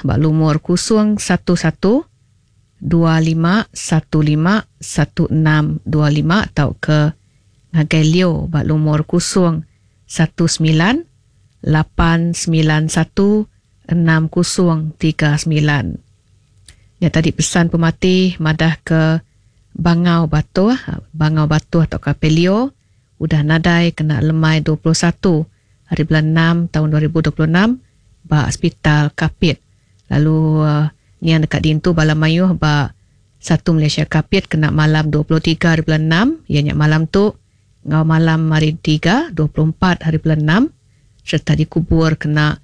ba lumur 011 2515 1625 tauka ngagai Leo ba lumur 019 891 6039. Nya tadi pesan pemati madah ke Bangau Batuh, Bangau Batuh tauka Pelio udah nadai kena lemai 21 hari bulan 6 taun 2026 ba Sepital Kapit. Lalu niang deka diintu bala mayuh ba Satu Malaysia Kapit kena malam 23 hari bulan 6 iya nya malam tu enggau malam hari Tiga 24 hari bulan 6 sereta dikubur kena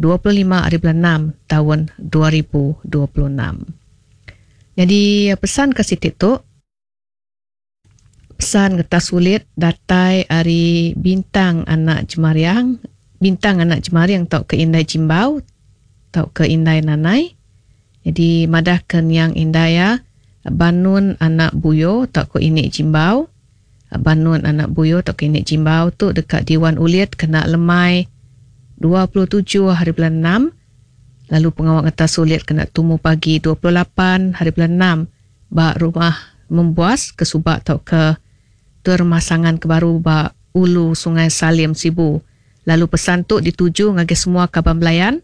25 hari bulan 6 taun 2026. Nyadi pesan ke siti tu pesan ngetas ulit datai ari Bintang anak Jemariang, Bintang anak Jemaring tauka Indai Jimbau tauka Indai Nanai. Nyadi madahka niang indai iya Banun anak Buyo tauka Ini Jimbau. Banun anak Buyo tauka Ini Jimbau tu deka diwan ulit kena lemai 27 hari bulan 6 lalu pengawa ngetas ulit kena tumu pagi 28 hari bulan 6 ba Rumah Membuas ke suba tauka Tuai Rumah Sangan ke baru ba Ulu Sungai Salim, Sibu. Lalu pesan tu dituju ngagai semua kaban belayan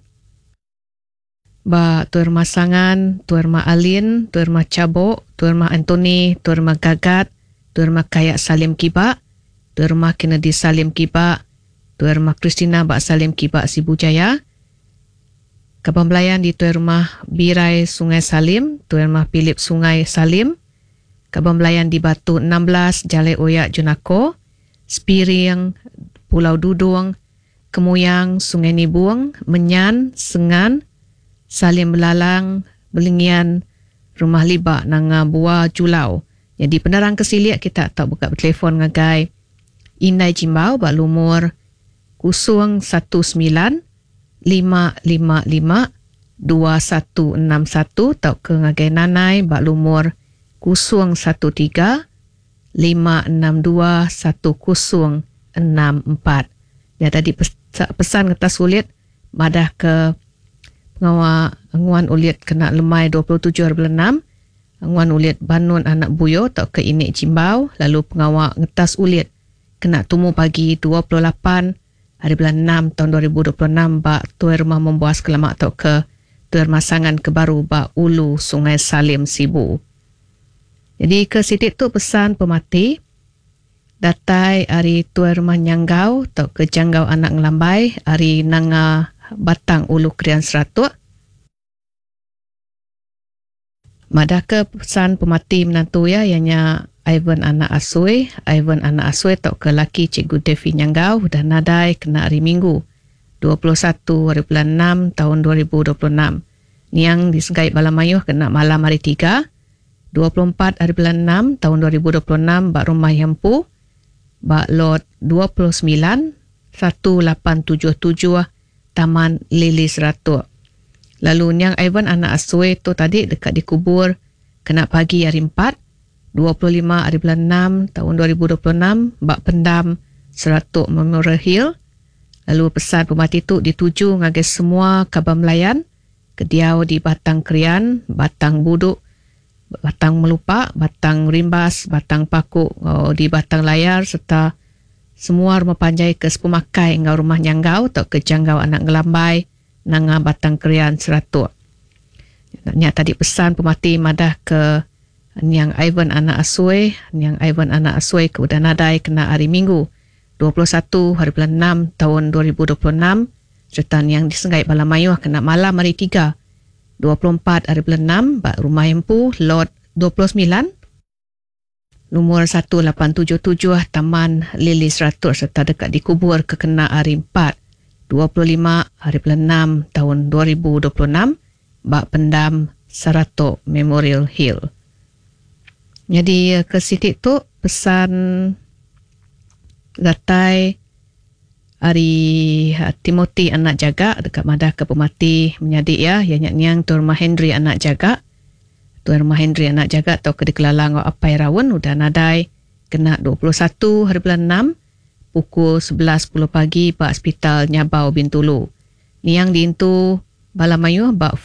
ba Tuai Rumah Sangan, Tuai Rumah Alin, Tuai Rumah Chabok, Tuai Rumah Anthony, Tuai Rumah Gagat, Tuai Rumah Kayak Salim Kiba, Tuai Rumah Kennedy Salim Kiba, Tuai Rumah Christina ba Salim Kiba Sibu Jaya. Kaban belayan di Tuai Rumah Birai Sungai Salim, Tuai Rumah Philip Sungai Salim, kaban belayan di Batu 16 Jalai Oyak Junako, Spiring, Pulau Dudung, Kemuyang, Sungai Nibung, Menyan, Sengan, Salim Belalang, Belengian, Rumah Liba Nanga Bua Julau. Nyadi penerang ke silik kita tau buka betelefon ngagai Indai Jimbau ba lumur 019 555 2161 tauka ngagai Nanai ba lumur 013 562 1064. Nya tadi pesan ngetas ulit madah ke pengawa nguan ulit kena lemai 27 hari bulan 6 nguan ulit Banun anak Buyo tauka Inik Jimbau lalu pengawa ngetas ulit kena tumu pagi 28 hari bulan 6 taun 2026 ba Tuai Rumah Membuas ke lama tauka Tuai Rumah Sangan ke baru ba Ulu Sungai Salim, Sibu. Nyadi ke siti tu pesan pemati datai ari Tuai Rumah Nyanggau tauka Janggau Anak Ngelambai ari Nanga Batang Ulu Krian Seratok. Madahka pesan pemati menantu iya, iya nya Ivan anak Asui. Ivan anak Asui tauka laki Cikgu Devi Nyanggau udah nadai kena hari Minggu, 21 hari bulan enam taun 2026. Niang disegai bala mayuh kena malam hari Tiga, 24 hari bulan enam taun 2026 ba rumah iya empu ba Lot 29, 1877 Taman Lili Seratok. Lalu niang Ivan anak Asui tu tadi deka dikubur kena pagi hari Empat, 25 hari bulan enam taun 2026 ba Pendam Seratok Memorial Hill. Lalu pesan pemati tu dituju ngagai semua kaban belayan ke diau di Batang Krian, Batang Buduk, Batang Melupa, Batang Rimbas, Batang Paku enggau di Batang Layar sereta semua rumah panjai ke sepemakai enggau rumah Nyanggau tauka Janggau Anak Ngelambai nanga Batang Krian Seratok. Nya tadi pesan pemati madah ke niang Ivan anak Asui, niang Ivan anak Asui ke udah nadai kena hari Minggu 21 hari bulan 6 taun 2026 sereta niang disenggai bala mayuh kena malam hari Tiga 24 hari bulan 6 ba Rumah Empu Lot 29 lumur 1877 Taman Lili Seratus sereta deka dikubur ke kena hari 4 25 hari bulan 6 taun 2026 ba Pendam Saratok Memorial Hill. Nyadi ke siti tu pesan datai ari Timothy anak Jaga deka madahka pemati menyadi iya, iya nya niang Tuan Rumah Henry anak Jaga. Tuan Rumah Henry anak Jaga tauka dikelala enggau Apai Raun udah nadai kena 21 hari bulan 6 pukul 11.10 pagi ba Sepital Nyabau Bintulu. Niang diintu bala mayuh ba.